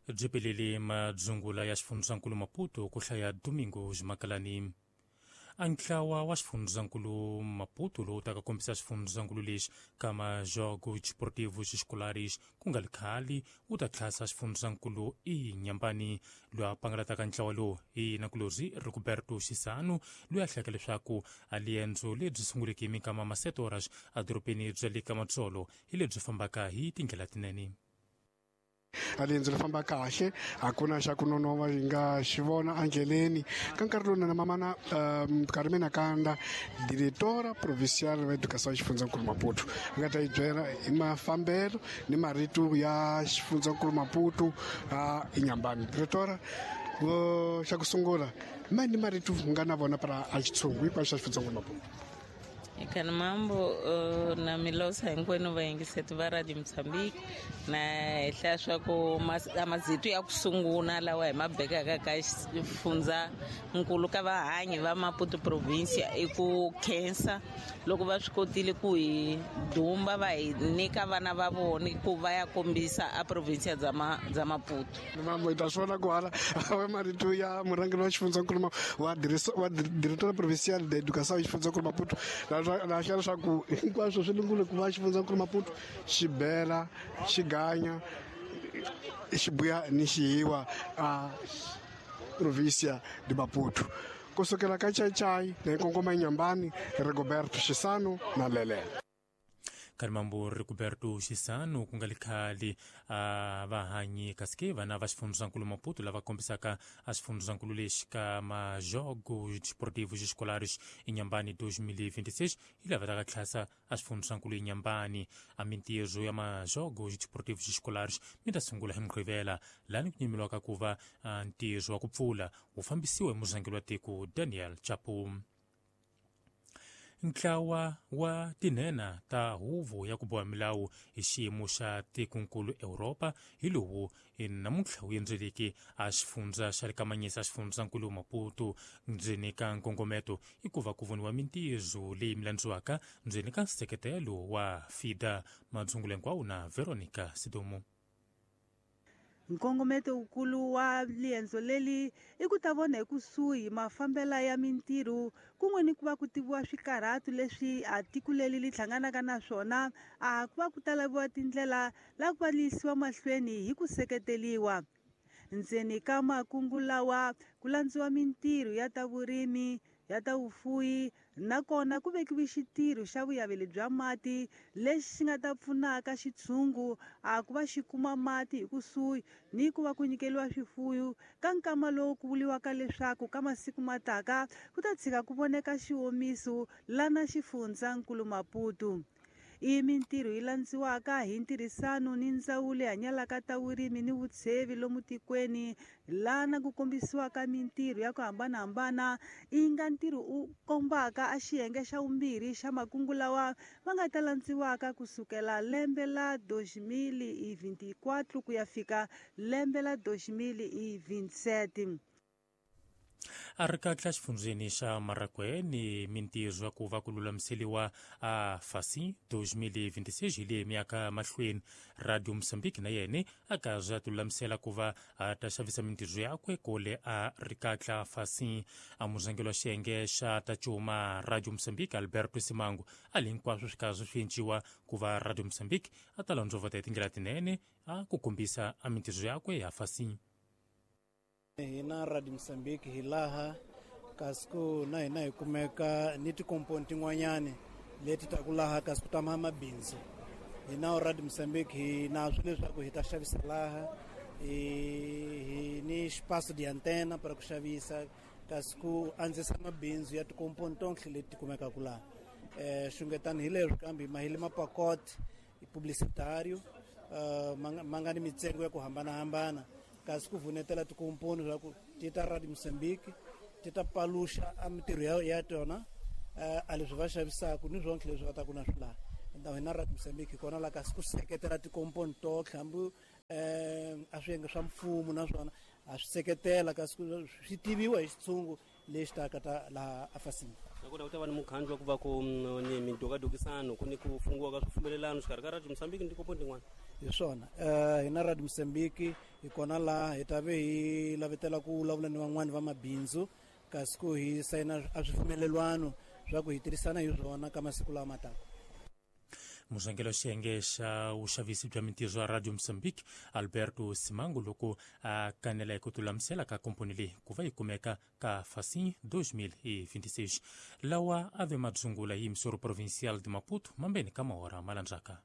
Byi pelele madzungula ya xifundzankulu Maputo ku hlaya Domingo Ximakalani. A ntlawa wa xifundzankulu Maputo lowu taka kombisa xifundzankulu lexi ka Majogos Desportivos Escolares ku nga ri khale wu ta tlhasa xifundzankulu Inhambane. Loyi a pangalataka ntlawa lowu i nakulorhi Rigoberto Chissano, loyi a hlayaka leswaku a liendzo lebyi sunguleke hi minkama ma 7 horas edorobeni bya le ka Matsolo hi lebyi fambaka hi tindlela tinene. A riendzo ri famba kahle, a ku na xa ku nonova hi nga xi vona endleleni. Ka nkarhi lowu na mamana Carmena Kanda, diretora provincial wa educação xifundzankulu Maputo, a nga ta yi byela hi mafambelo ni marito ya xifundzankulu Maputo a Inhambane. Diretora, xa ku sungula ma ni marito nga na vona para a xitshungu hinkwaswo xa xifundzankulu Maputo. Eka mambo na milosa hinkwenu vayingiseti va Radio Mozambique, na hehla swa ku mazitu ya ku sungula lawa hi ma bekaka ka xifundza nkulu ka vahanyi va Maputo province i ku khensa loko va swi kotile ku hi dumba va hi nyika vana va vona ku va ya kombisa a province bya bya Maputo. Mambo hi ta swi vona ku hala marito ya murhangeri wa xifundzankulu wa directora provincial de educação xifundzankulu Maputo la hlaya leswaku hinkwaswo swi lungule ku va xifundzankulu Maputo xi bela xi ganya xi buya ni xihiwa a provincia de Maputo. Kusukela ka Chaichai na Nkongoma Inhambane, Rigoberto Chissano na Lele. Karimambo Rigoberto Chissano ku nga ri khale a vahanyi kasi ke vana va xifundzankulu Maputo lava kombisaka a xifundzankulu lexi ka Majogos Desportivos Escolares Inhambane 2026 hi lava taka tlhasa a xifundzankulu Inhambane. A mintirho ya Majogos Desportivos Escolares mi ta sungula hi Mugqivela, lani ku nyimiwaka ku va ntirho wa ku pfula wu fambisiwa hi murhangeri wa tiko Daniel Chapo. Ntlawa wa tinhena ta huvo ya ku boha milawu hi xiyimo xa tikonkulu Europa hi lowu namuntlha wu endzeleke a xifundza xa le kamanyisa xifundzankulu Maputo. Ndzeni ka nkongometo i ku va ku voniwa mintirho leyi mi landziwaka ndzeni ka nseketelo wa FIDA. Madzungulo hinkwawo na Veronica Sidomo. Nkongometo wukulu wa liendzo leli i ku ta vona hi kusuhi mafambela ya mintirho kun'we ni ku va ku tiviwa swikarhatu leswi a tiko leli li hlanganaka na swona, a ku va ku ta laviwa tindlela la ku va li yisiwa mahlweni hi ku seketeliwa. Ndzeni ka makungu lawa ku landziwa mintirho ya ta vurimi, ya ta vufuwi, nakona ku vekiwe xitirho xa vuyaveli bya mati lexi xi nga ta pfunaka xitshungu a ku va xi kuma mati hi kusuhi ni ku va ku nyikeliwa swifuyo ka nkama lowu ku vuliwaka leswaku ka masiku mataka ku ta tshika ku voneka xiwomiso lana xifundzankulu Maputo. I mintirho yi landziwaka hi ntirhisano ni ndzawulo yi hanyalaka ta vurimi ni vutshevi lomu tikweni, lana ku kombisiwaka mintirho ya ku hambanahambana i nga ntirho u kombaka a xiyenge xa vumbirhi xa makungu lawa va nga ta landziwaka kusukela lembe la 2024 ku ya fika lembe la 2027. A ri kahle xifundzeni xa Marraquene mintirho ya ku va ku lulamiseliwa a fasi 2026 hi leyi miyaka mahlweni. Radio Mozambique na yena a karhi a tilulamisela ku va a ta xavisa mintirho yakwe kole a ri kahle fasi. A murhangeri wa xiyenge xa ta cuma Radio Mozambique Alberto Simango a li hinkwaswo swi karhi swi enciwa ku va Radio Mozambique a ta landzovota hi tindlela tinene a ku kombisa a mintirho yakwe ya fasi. Hina Radio Mozambique hi laha kasi ku na hina hi kumeka ni tikomponi tin'wanyani leti ta ku laha kasi ku tama mabindzu. Hina Radio Mozambique hi na swi leswaku hi ta xavisa laha, hi ni xipaso di antena para ku xavisa kasi ku andzisa mabindzu ya tikomponi tonke leti kumekaka laha. Xungetani hi leswi kambe mahile mapakote publicitario ma nga ni mitsengo ya ku hambanahambana kasi ku vunetela tikomponi swa ku ti ta Radio Mozambique ti ta paluxa a mintirho ya tona a leswi va xavisaka ni swonke leswi va ta ku na swi laha. Então hina Radio Mozambique hi kona la kasi ku seketela tikomponi totlhe hambi a swiyenge swa mfumo naswona a swi seketela kasi swi tiviwa hi xitshungu lexi taka ta laha afasini. Nakona ku ta va ni mukhandlu wa ku va ku ni midokadokisano ku ni ku fungiwa ka swipfumelelano xikarhi ka Radio Mozambique ni tikomponi tin'wana. Hi swona, hina Radio Mozambique hi kona laha hi ta ve hi lavetela ku vulavula ni van'wani va mabindzu, kasi ku hi sayina a swipfumelelwano swa ku hi tirhisana hi swona ka masiku lawa ma taka. Murhangeri wa xiyenge xa vuxavisi bya mintirho ya Radio Mozambique, Alberto Simango, loko a kanela hi ku tilulamisela ka komponi leyi ku va yi kumeka ka Facim 2026. Lawa a ve madzungula hi Yimsoro Provincial de Maputo mambeni ka mahora malandzaka.